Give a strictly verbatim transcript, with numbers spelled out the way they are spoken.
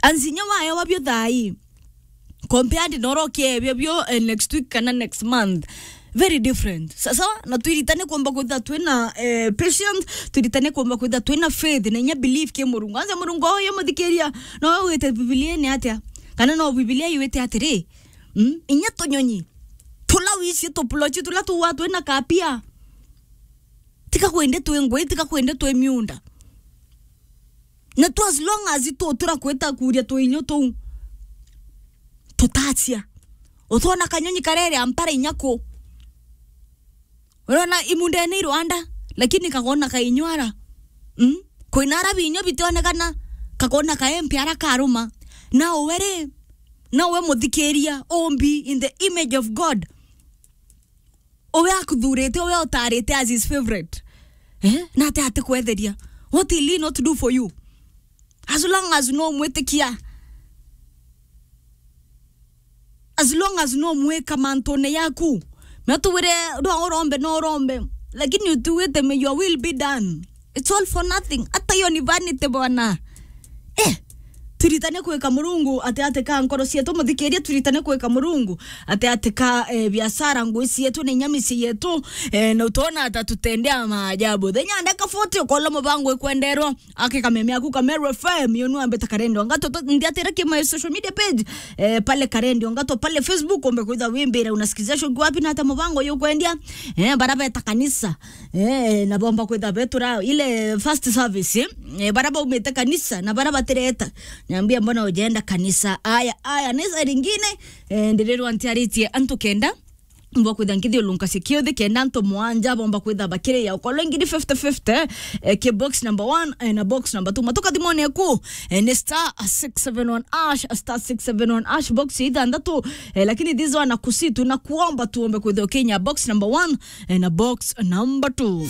Anzinya wayo wabio thai compared na urokie bio bio, eh, next week kana next month. Very different. Sasa, na twiritane kuomba kwitha twina, eh, patience, twiritane kuomba kwitha twina faith, na inya belief ki Murungu. Anza Murungu uyu muthikiria, no wite Bibilia ni atia? Kana no Bibilia iwite atiri, mm? Inya tunyonyi, tula wici tupulochi, tula tuwa twina kapia. Tika kwende twi ngui, tika kwende twi miunda. Na tu as long as tu tura kwita kuria tuinyo tuu, tutacia. Utona kanyonyi karere ampara inya ku. Urona imundene i Rwanda, lakini kagona kainyo ara. Mm? Kwina ara binyo bitionekana, kagona kaempe ara karuma. Na uwe ri, na uwe muthikiria, umbi in the image of God. Uwe akuthurite, uwe utarite as his favorite. Eh? Na ati atikwetheria. What will he not do for you? As long as no mwitikia. As long as no mwika mantune yaku. Na tuwire, no urombe, no urombe. Lakini utiwite, may your will be done. It's all for nothing. Ata iyo ni vanity bwana. Eh, turitane kwika Murungu ati ati ka nkoro cietu, muthikiria, turitane kwika Murungu ati ati ka, eh, biashara, ngui cietu, na inya micii yetu, eh, na utona ata tutendea maajabu. Thenya ndeka forty, ukola mubango ikwenderwa, ake kameme aku ka Meru F M, yo nuambe ta Karendi wa Ngato, to-, ndiatira ki my social media page, eh, pale Karendi wa Ngato, pale Facebook, umbe kwitha wimbira, unasikizia show wapi na ata mubango yo kwendia, eh, bara beta kanisa. Eh, na bomba kwitha betura ile first service, eh? Eh, bara baumite kanisa na bara batireta. Niambia, mbona ujaenda kanisa? Aya, aya, ni saa lingine, eh, ndirirwa ntiaritie antu kenda. Mbo kwitha nkithiulunkacia kiuthi kenda antu mwanja bomba kwitha bakiria ukolwa ngiri fifty fifty, eh, ki box number one, eh, na box number two. Matuka thimone ku, eh, ni star six seven one hash, star six seven one hash, box ithanthatu, eh, lakini this one nakusitu na kuomba tuombe kwitha ukinya box number one, eh, na box number two.